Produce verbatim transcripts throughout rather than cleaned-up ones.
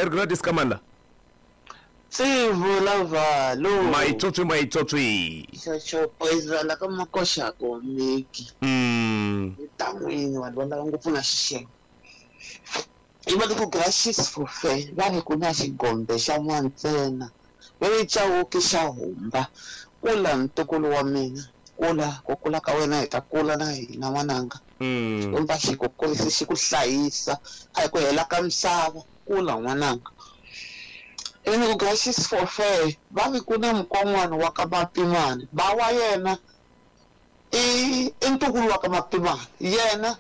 Merry Gladys Kamanda. Tsivula valo. Maitsotsi maitsotsi. Xoxo poison la ka makoxa ko miki. Mm. Tan'wini vanhu va lava ngopfu na xixelo. I va ku gracious for fair va ri ku na xigombe xa n'wantsena. Va ri chawuki xa humba. Kula ntukulu wa mina. Kula ku kula ka wena hi ta kula na hina n'wananga. Mm. Xikwembu xi ku kurisa xi ku hlayisa a hi ku hela ka misava kula n'wananga. Ene ku gracious for fair va ri ku na mukon'wana wa ka Mapimani ba wa yena i i ntukulu wa ka Mapimani yena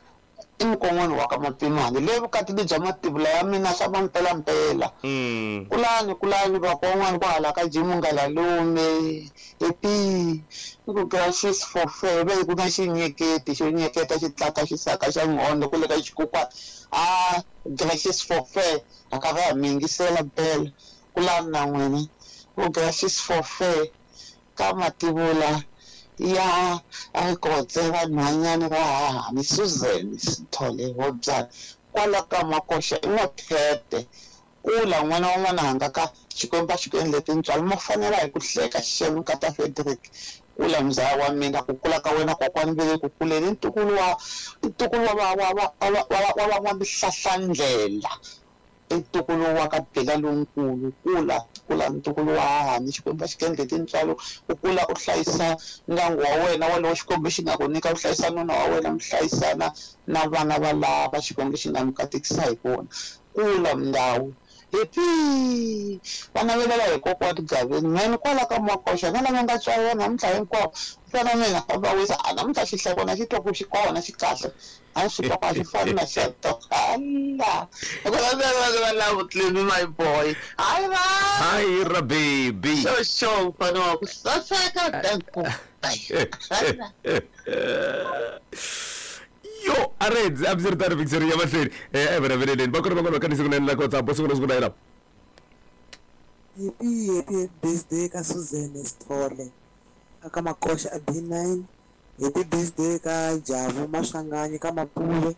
i mukon'wana wa ka Mapimani le vukatini bya mativula ya mina swa mampelampela. Mm. Kulani kulani vakon'wana kwahala ka Jimunga Lalume epi ku gracious for fair va ku na xinyeketi xo nyeketa xi tlaka xisaka xa nghondo kule ka xikukwana a gracious for fair a ka va mi yingisela mpela kulani na n'wina ku gracious for fair ka mativula ya Rikotse vanhwanyana va hahani Susan Sithole Hobyana kwala ka Makoxa i N'waphete kula n'wana wa n'wananga ka Xikwembu a xi ku endle tintswalo mo fanela hi ku hleka xixelo nkata Frederick kula mzaya wa mina ku kula ka wena kokwani ve le ku kuleni ntukulu wa ntukulu wa wa wa wa wa wa wa wa mihlahlandlela ntukulu wa ka Bela lonkulu kula kula ntukulu wa hahani Xikwembu a xi ku endle tintswalo u kula u hlayisa ndyangu wa wena walowo Xikwembu xi nga ku nyika u hlayisa nuna wa wena mi hlayisana na vana va lava Xikwembu xi nga mi katekisa hi vona kula ndhawu happy va navelela hi kokwani Gaveni mhani kwala ka Makoxa na lava nga tswariwa namuntlha hinkwavo fana mina va wisa a namuntlha xihlekwana xi twa ku xi kona xi kahle a swi twa ku a xi fani na xa tokala va lava Clemy my boy hayi va Hi ra baby. xo mfana wa ku saseka danko Yo, areds absirtani victory ya mahlweni eh everaveleleni va kona van'wana va kanise kunene la ka WhatsApp siku na siku na yena. Happy happy birthday ka Susan Sithole aka Makoxa a B nine. Happy birthday ka Javu Maswanganyi ka Mapuve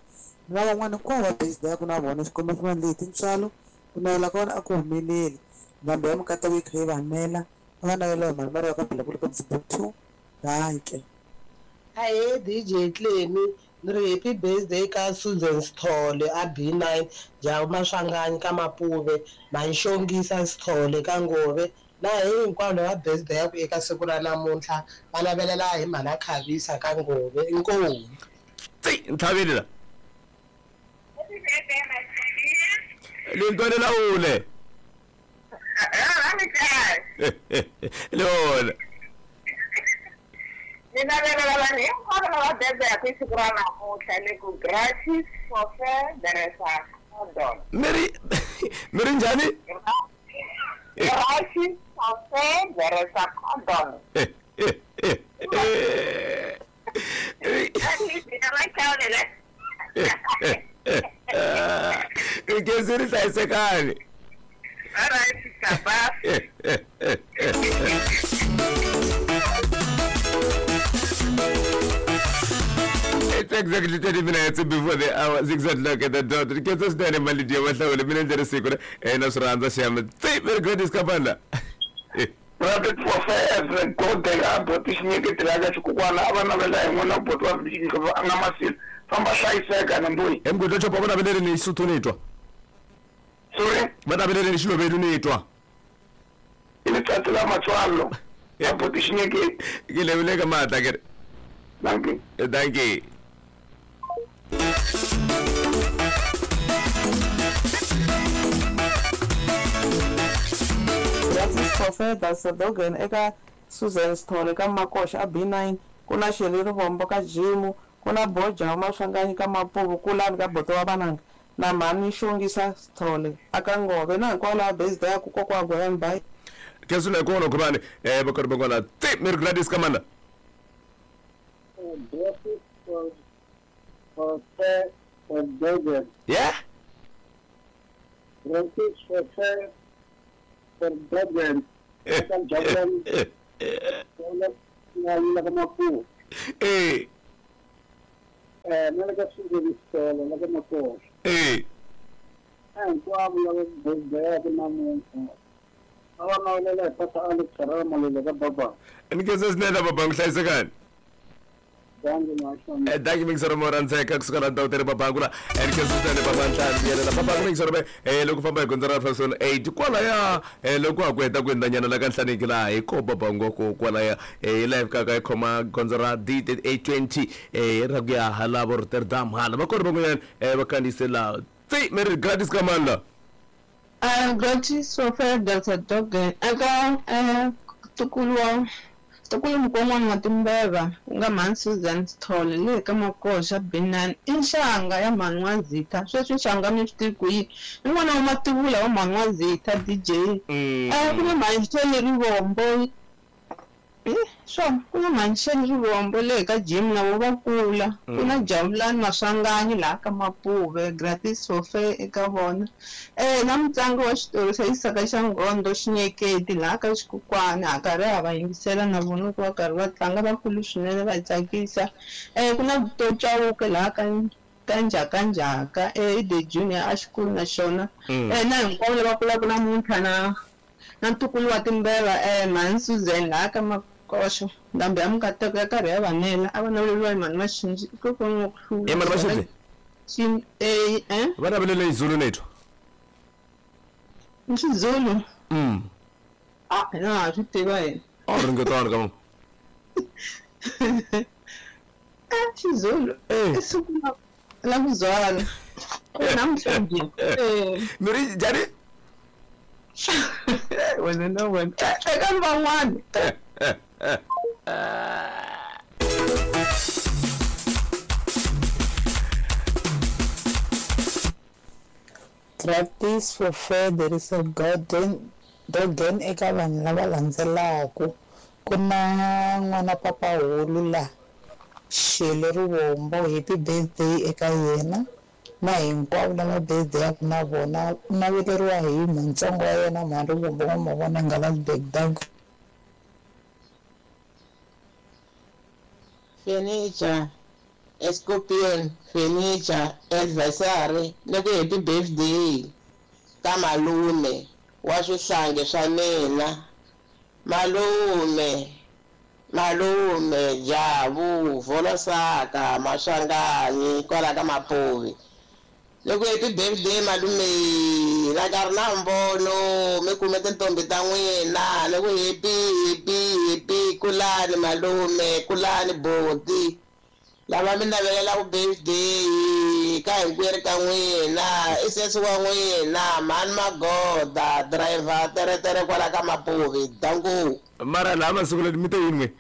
na van'wana hinkwavo va birthday ya ku na vona Xikwembu xi va endle hi tintswalo ku navela ka vona a ku humeleli ndhambi ya mikateko yi kha yi va nela a va navela hi mali mali ya ka Bela kule ka Dzibuk two danke. Ahee D J Clemy ni ri happy birthday ka Susan Sithole a B nine Javu Maswanganyi ka Mapuve Manxongisa Sithole ka Ngove na hinkwavo lava birthday ya ku eka siku ra namuntlha va navelela hi mhana Khavisa ka Ngove inkomu. Tsi ntlhaveli la. Lintwane ule. Lona. Ni navelela vanhu hinkwavo lava birthday ya ku hi siku ra namuntlha ni ku gracious for fair there is a condom. Meri Meri njhani? Gracious for fair there is a condom. Nkezi ri hlayisekani. All right, sister, bye. It's exactly thirty minutes before the hour, six o'clock at the dot. Nkezi swinene mali ya mahlawule mina ndzi ri siku eh na swi rhandza xiyama. Tsi very great iskapanda. Private for fair godela boti xinyeketela ka xikukwana a va navela hi n'wana boti wa a nga masile famba hlayiseka na mbuyi. Emgudlo chopa va navelele ni Xisuthu ni twa. Sorry? Va navelele ni Xilovelu ni twa. I letsatsi la matswalo ya boti xinyeketi. Ke lebile ka matla ke re. Thank you. Thank you. Justice for Fair Dasadogan eka Susan Sithole ka Makoxa a B nine ku na Sheli Rivombo ka Jimu ku na Boja Maswanganyi ka Mapuvu kulani ka Boto wa Vananga na mhani Xongisa Sithole aka Ngove na hinkwavo lava birthday ya ku kokwa Gwen bye. Kesule kona khubani eh bakona bakona tsi Merry Gladys Kamanda. Justice for for fair for Dogan. Yeah? Justice for fair for Dogan. Dogan. Eh. Eh, nella Susan Sithole, la Makoxa. Eh. Eh, Na hinkwavo lava birthday namuntlha. A va navelela hi Pastor Alex Rama Malele ka baba. Ni khensa swinene babangu hlayisekani. Dankie Dankie mingisoro mo rhandzeka kusuka la ndhawu tere babangu la ni khensa swinene baba ntlhanu yelela babangu mingisoro me eh loko famba hi gondzo ra Fashion eight kwalaya eh loko ha ku heta ku hundzanyana la ka Nhlaniki laha hi ko babangu ko kwalaya eh live kaka hi khoma gondzo ra D eight twenty eh ra ku ya hala vo Rotterdam hala va kona van'wanyana eh va kandziyise laha tsi mi ri gratis ka mani la Uh, gratis for Delta Dogen. Eka eh ntukulu wa ntukulu mukon'wana wa Timbeva ku nga mhani Susan Sithole le ka Makoxa B nine i nxanga ya mhani wa Zitha. Sweswi nxanga mi swi tivi ku yini i n'wana wa mativula wa mhani wa Zitha D J. Eh ku na mhani Shirley Rivombo swona ku na mhani Shirley Rivombo le ka Jim na vo va kula ku na Jabulani Maswanganyi laha ka Mapuve gratis for fair eka vona eh na mutlangi wa xitori xa Xisaka xa Nghondo Xinyeketi laha ka Xikukwana ha karhi ha va yingisela na vona loko va karhi va tlanga vakulu swinene va tsakisa eh ku na Vutomi Chauke laha ka ka Njhakanjhaka eh The Junior a xikulu na xona eh na hinkwavo lava kulaka namuntlha na na ntukulu wa Timbeva eh mhani Susan laha ka Makoxo ndhambi ya Mukateko ya karhi ya vanela a va naveleriwa hi mhani Maxinji kokwana wa ku hlula i mhani Maxinji Xin eh eh va navelele hi Zulu nethu i Xizulu mm ah hina ha swi tiva hina a ringetani ka eh Xizulu Eh. i siku la la ku byala namuntlha njhe eh mi ri njhani wena na wena eka van'wana Gratis for fair there is a garden dogen eka vanhu lava landzelaku ku na n'wana papahulu la Shirley Rivombo happy birthday eka yena na hinkwavo lava birthday-aku na vona u naveleriwa hi muntsongo wa yena mhani Rivombo wa mavona Ngalasburg dankie. Furniture, Escorpion, furniture, adversary, ni ku happy birthday ka malume wa swihlangi swa mina. Malume, malume Jabu, Volosaka, Maswanganyi, kwala ka Mapuvi. Ni ku happy birthday malume, la ka ri na mbono, mi kume tintombi ta n'wina, ni ku happy, happy, happy, kulani malume, kulani boti. Lava mi navelelaku birthday ka hinkwerhu ka n'wina, i sesi wa n'wina, mhani Magoda, driver teretere kwala ka Mapuvi, danku. mara laha masiku leti mi te yini n'we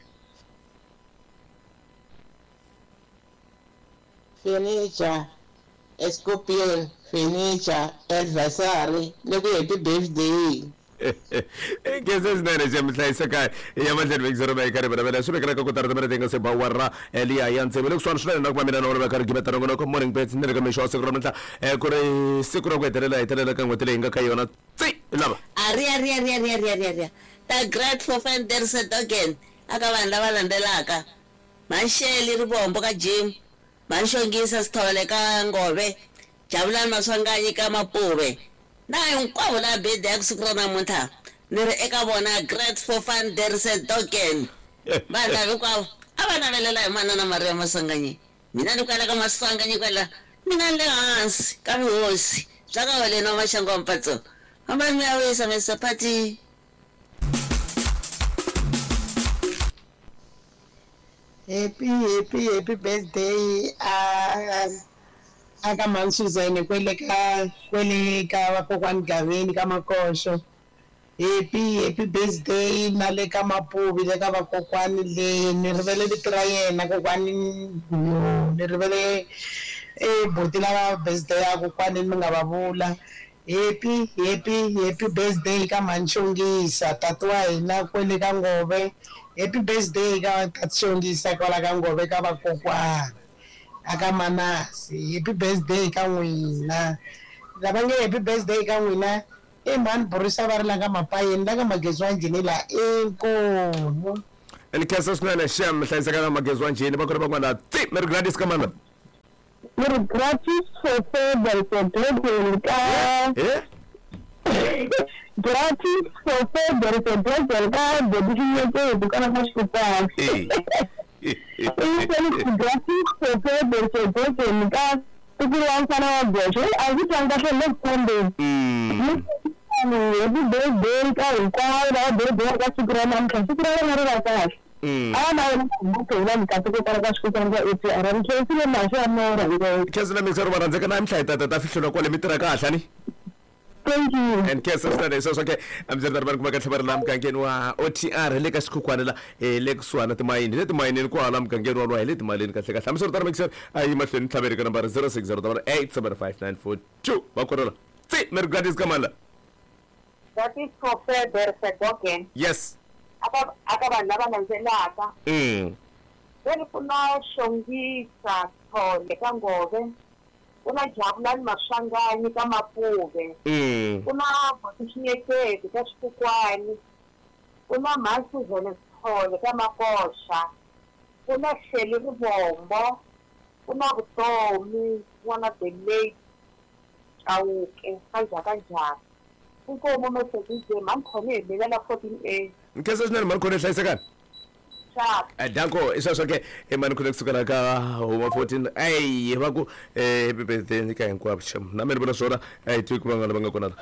Furniture, Escorpion, furniture, adversary, ni ku happy birthday. Khensa swinene xa mi hlayiseka ya mahlweni vekisero va karhi va swi vekela ka kotara timene ti nga se ba wara liya ya ntsevu le kusuhani swinene na ku va mina na wona va karhi gimeta nongonoko morning bets ni le ka mixo wa siku ra namuntlha eh, ku ri siku ra ku hetelela hetelela ka n'hweti leyi nga ka yona tsi lava Aria ria ria ria ria ria ria. Ta great for fan there se dogen. Aka vanhu lava landzelaka. Mhani Rivombo ka Jim. Mhani Xongisa Sithole ka Ngove. Jabulani Maswanganyi ka Mapuve. Na hinkwavo lava birthday ya siku ra namuntlha. Ni ri eka vona great for fun there se dogen. Vanhu lava hinkwavo a va navelela hi manana Maria Maswanganyi. Mina ni kwala ka Maswanganyi kwala. Mina ni le hansi ka vuhosi bya ka Holeni wa Maxangu wa Mpatso. Fambani mi ya wisa Mister Party. Happy happy happy birthday a a ka mhani Susan kwele ka kwele ka vakokwani Gaveni ka Makoxo. Happy happy birthday na le ka Mapuvi le ka vakokwani le ni rivele vito ra yena kokwani yo ni rivele e buti lava birthday ya kokwani mi nga va vula. Happy happy happy birthday ka mhani Xongisa tati wa hina kwele ka Ngove. Happy birthday ka tati Xongisa kwala ka Ngove ka vakokwana aka Manasi. Happy birthday ka n'wina lava nge happy birthday ka n'wina i mhani Borisa va ri la ka Mapayeni la ka Magezi wa Njhini la inkomu. Ni khensa swinene xem hlayiseka na Magezi wa Njhini va kona van'wana tsi mi ri Gladys ka mani Ni ri gratis for further for global ka eh gratis for further for global ka bodinyeke kana ka xikupana eh gratis for further for global ka tikuru wa mfana wa goxe a ndzi twanga kahle le kumbe mm happy birthday ka hinkwavo lava birthday ka siku ra namuntlha siku ra vona ri va kahle mm a na wena ku mikateko kwala ka xikupana ka A T R ni tlherisile mahlo ya mora khensa na mixer va rhandzeka na mihla hi ta ta fihlula kwale mi tirha kahle ni thank you and khensa swinene sweswo ke ambyeri ri kuma kahle va ri laha mugangeni wa O T R le ka xikhukhwana la eh, le kusuhana timayini le timayinini kwala mugangeni walowa hi le timalini kahle kahle hambiswiritano mixer a yi mahlweni tlhaveri ka nambara zero six zero double eight seven five nine four two va korela tsi meri gratis ka mani la gratis for further for dogen yes aka aka vanhu lava landzelaka mm then ku na Xongisa Thole ka Ngove ku na Jabulani Maswanganyi ka Mapuve mm ku na Botixinyeketi ka Xikukwani ku na Mhasuzene Thole ka Makoxa ku na Sheli Rivombo ku na Vutomi n'wana the late Chauke ka Njhakanjhaka inkomo Mercedes mankhone hi mina la fourteen A nkhensa swinene mani khone hlayisekani sharp danko i sweswo ke i mani khone kusukela ka huma fourteen a va ku eh, happy birthday ka hinkwavo xem na mina ni vona swona a hi tivi ku van'wana va nga kona la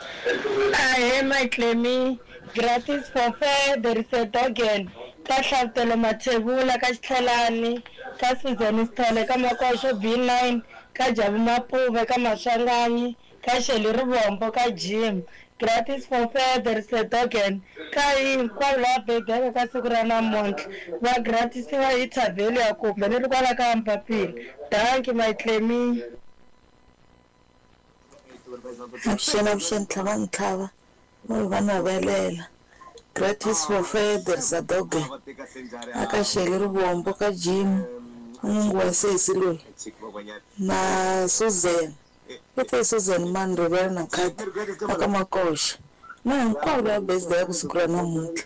Ahee Matlemi gratis for fair there is a dogen ka Hlavutelo Mathebula ka Xitlhelani ka Susan Sithole ka Makoxo B nine ka Jabu Mapuve ka Maswanganyi ka Sheli Rivombo ka Jim gratis for fair there is a dogen ka hinkwavo lava bebeke ka siku ra namuntlha va gratisiwa hi thavheli ya kumbe ni ri kwala ka Mpapila danki Matlemi Avuxeni avuxeni tlhava ntlhava mo va navelela gratis for fair sadoge aka Sheli Rivombo ka Jim n'wingi wa sesi loyi na Susan i te Susan mani rivela na khadi aka Makoxa na hinkwavo lava birthday ya ku siku ra namuntlha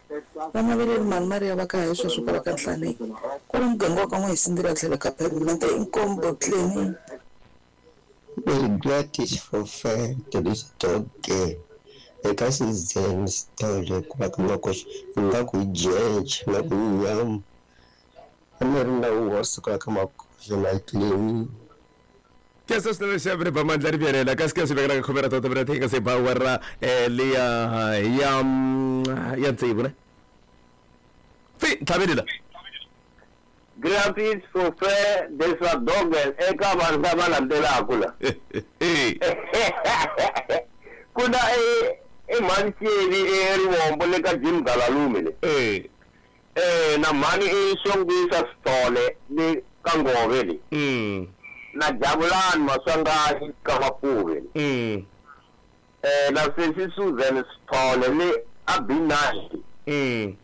va naveleli mani Maria va ka hi sweswo kwala ka Nhlaneki kwala muganga wa ka N'wahisindela tlhelo ka pavement inkombo cleaning Very gratis for fair there is dog eka Susan Sithole ku va ka Makoxa nga ku jeje nga ku nyama a ni ri na wa siku ka Makoxa na clean khensa swinene xaviri ba mandla ri vyelela kasi ke swi vekela ka khomera tota vira thinga se ba wara eh, liya ya mm, ya tsevu ne tsi tlhaveli la gratis for fair there's a dog eka vanhu lava landzelaka la eh ku na e i mhani Xeli eRivombo le ka Jim Galalume le eh eh na mhani i Xongisa Sithole le ka Ngove le mm na Jabulani Maswanganyi ka Mapuve le mm eh na sesi Susan Sithole le a B nine mm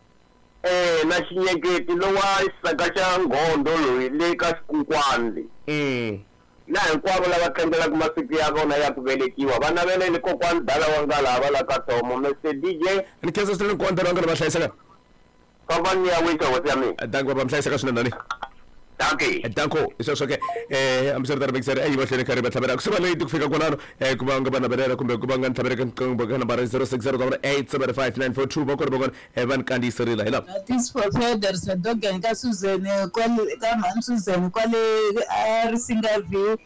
eh na Xinyeketi lowa xisaka xa Nghondo loyi le ka Xikukwani le mm na hinkwavo lava tlangelaka masiku ya vona ya ku velekiwa va naveleli kokwani dala wa nga lava la ka Tomo Mister D J ni khensa swinene nkonda va nga va hlayiseka famba ni ya wisa hosi ya mina danko va mi hlayiseka swinene nani danki danko i sweswo ke eh hambiswiritano mixer a yi mahlweni karhi va tlhavela ku suka late ku fika kwalano eh ku va nga va navelela kumbe ku va nga ni tlhavela ka nqingho ka nambara zero six zero double eight seven five nine four two va kona va kona eh va ni kandziyiserile hi lava Gratis for fair there is a dogen ka Susan kwale ka mhani Susan kwale a Risinga View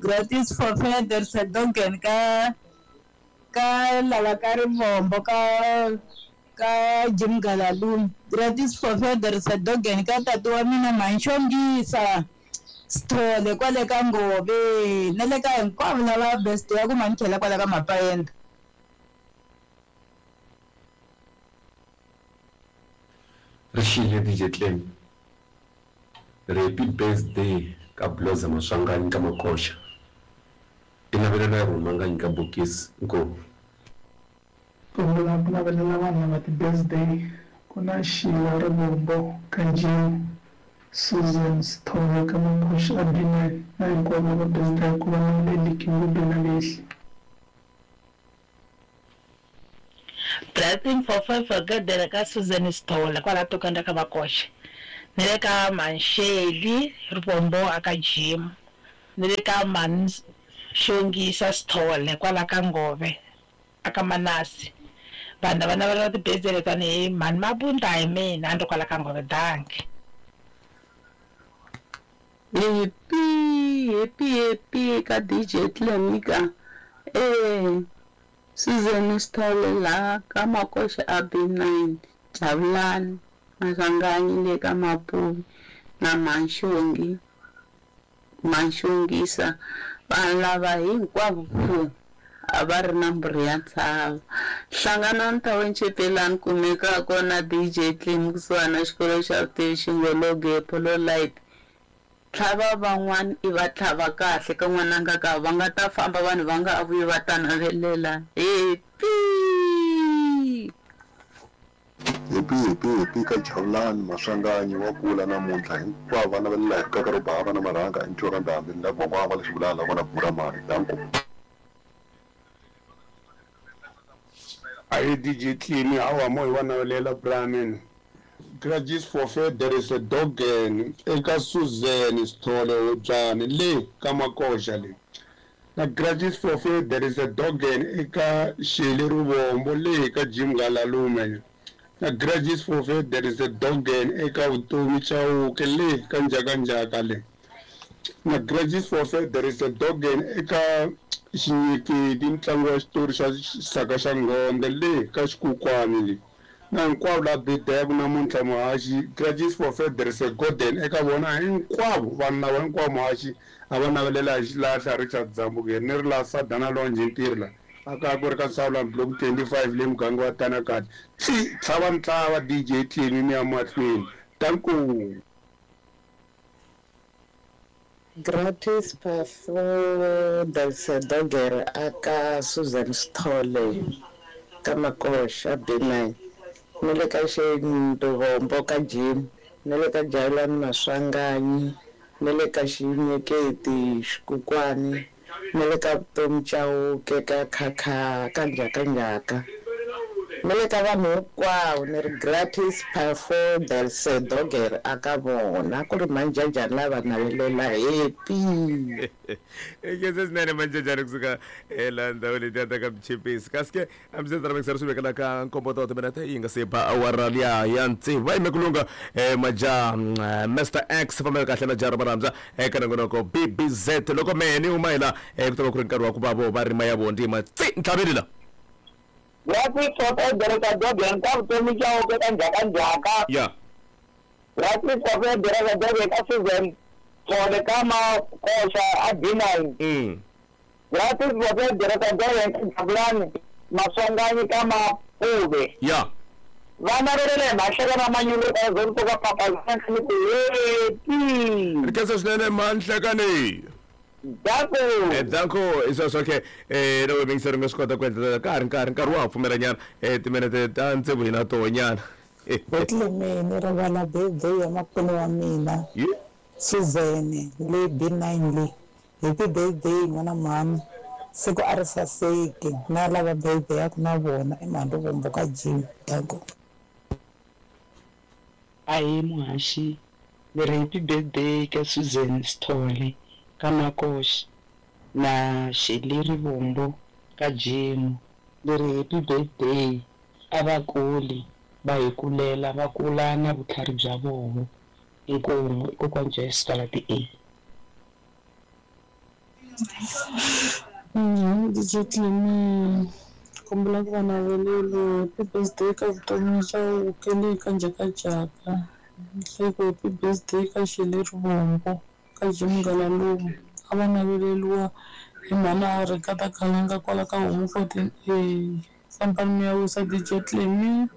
gratis for fair there is a dogen ka ka lava ka Rivombo ka ka Jim Galalume gratis for fair there is a dogen ka tati wa mina Manxongisa Sithole kwale ka Ngove na le ka hinkwavo lava best ya ku mankhela kwala ka Mapayenda Rixile D J Clem happy birthday ka Bloza Maswanganyi ka Makoxa i navelela ya rhumanganyi ka bokisi inkomu ku vula ku navelela vanhu lava ti-birthday ku na Sheila Rivombo ka Jim Susan Sithole ka Makoxa a B nine na hinkwavo lava birthday ku va naveleli Kingubi na Lehli Blessing for five for good ka Susan Sithole kwala tokanda ka Makoxa ni le ka Manxeli Rivombo aka Jim Ni le ka mhani Xongisa Sithole kwala ka Ngove aka Manasi. Vanhu lava navelela ti-birthday tanihi mhani Mabunda hi mina a ni ri kwala ka Ngove. Dankie. Happy, happy, happy ka D J Tlemika. Eh, Susan Sithole la ka Makoxa a B nine, Jabulani Maswanganyi le ka Mapuve na Manxongi Manxongisa. Vanhu lava hinkwavo ku a va ri na mbirhi ya ntshava. Hlanganani Township laha kumekaka kona D J Clem kusuhani na xikolo xa vutivi Xingologe Polo Light. Tlhava van'wana i va tlhava kahle ka n'wananga ka va nga ta famba vanhu va nga vuyi va ta navelela. Happy Happy happy happy ka Jabulani Maswanganyi wa kula namuntlha hinkwavo va navelela hi rikaka ro bava na marhanga entirho ndhambi la gwagwa va lexi vulala vona bura mali danko. Ayi D J Clean hawa mo hi va navelela Brahmin. Gratis for fair there is a dog eka Susan Sithole Hobyane le ka Makoxa le. Na gratis for fair there is a dog eka Sheli Ruvombo le ka Jim Galalume. Na gratis for fair there is a dog eka Vutomi Chauke le ka Njhakanjhaka le. Na gratis for fair there is a dog eka Xinyekedi ntlangu wa xitori xa Xisaka xa Ngondhe le ka Xikukwani le. Na hinkwavo la birthday namuntlha muhaxi gratis for fair there is a golden eka vona hinkwavo vanhu lava hinkwavo muhaxi a va navelela hi xilahla Richard Zambukeri ni ri la Sadana Longe ntirho la aka ku ri ka Sawula block twenty-five le muganga wa Tanakati. Tsi tlhava ntlava D J Clean ni ya mahlweni. Danko. Gratis for Delsa Dogger aka Susan Sithole ka Makoxa B nine. Ni le ka Xindovombo ka Jim, ni le ka Jabulani Maswanganyi, ni le ka Xinyeketi Xikukwani, ni le ka Vutomi Chauke ka Khakha ka Njhakanjhaka. Ni le ka vanhu hinkwavo ni ri gratis for Delsa Dogger aka vona ku ri manjajani lava navelela happy. Ekese swinene manjajani kusuka ela ndhawu letiya ta ka Mchipisi. Kasi ke a mi se ta swi vekela ka nkombo ta timinete yi nga se ba awara liya ya tsevu. Va yime ku lungha maja Mister X fambela kahle na Jara Maramza eka nongonoko B B Z loko mehe ni huma hi la ku ta va ku ri nkarhi wa ku va vo va rima ya vo ntima tsi ntlhaveni la. Gratis for fair there is a dog ka Vutomi Chauke ka Njhakanjhaka. Yeah. Gratis for fair there is a dog ka Susan Sithole ka Makoxa a B nine. Mm. Gratis for fair there is a dog ka Jabulani Maswanganyi ka Mapuve. Yeah. Va navelela hi mahleka na manyunyu ka zonto ka papa ni ku happy. Ri khensa swinene manhlekani. Danko. Eh danko isweswo ke eh loko mingiseri nga swi kota ku endla ka ha ri nkarhi nkarhi wa ha pfumela nyana eh timinete ta tsevu hi na toho nyana. Clemeni rivala birthday ya makwenu wa mina Suzanne le B nine le. Happy birthday n'wana mhani, siku a ri saseki na lava birthday ya ku na vona i mhani Rivombo ka Jim. Danko. Ahi muhaxi ni ri happy birthday ka Susan Sithole ka Makoxa na Sheli Rivombo ka Jim. Ni ri happy birthday a va kuli va hi kulela va kula na vutlhari bya vona. Inkomu kokwani Joyce Twala A. D J Clemi kombela ku va navelelo happy birthday ka Vutomi Chauke le ka Njhakanjhaka. Hleko happy birthday ka Sheli Rivombo ka Jim Galalume. A va naveleliwa hi mhani a ri ka ta Khalanga kwala ka Homu fourteen A. Fambani mi ya wisa D J Clemi.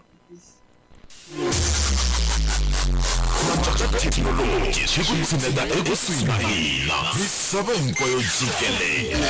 Thekinoloji xi ku tshineta ekusuhi na hina misava hinkwayo jikelele.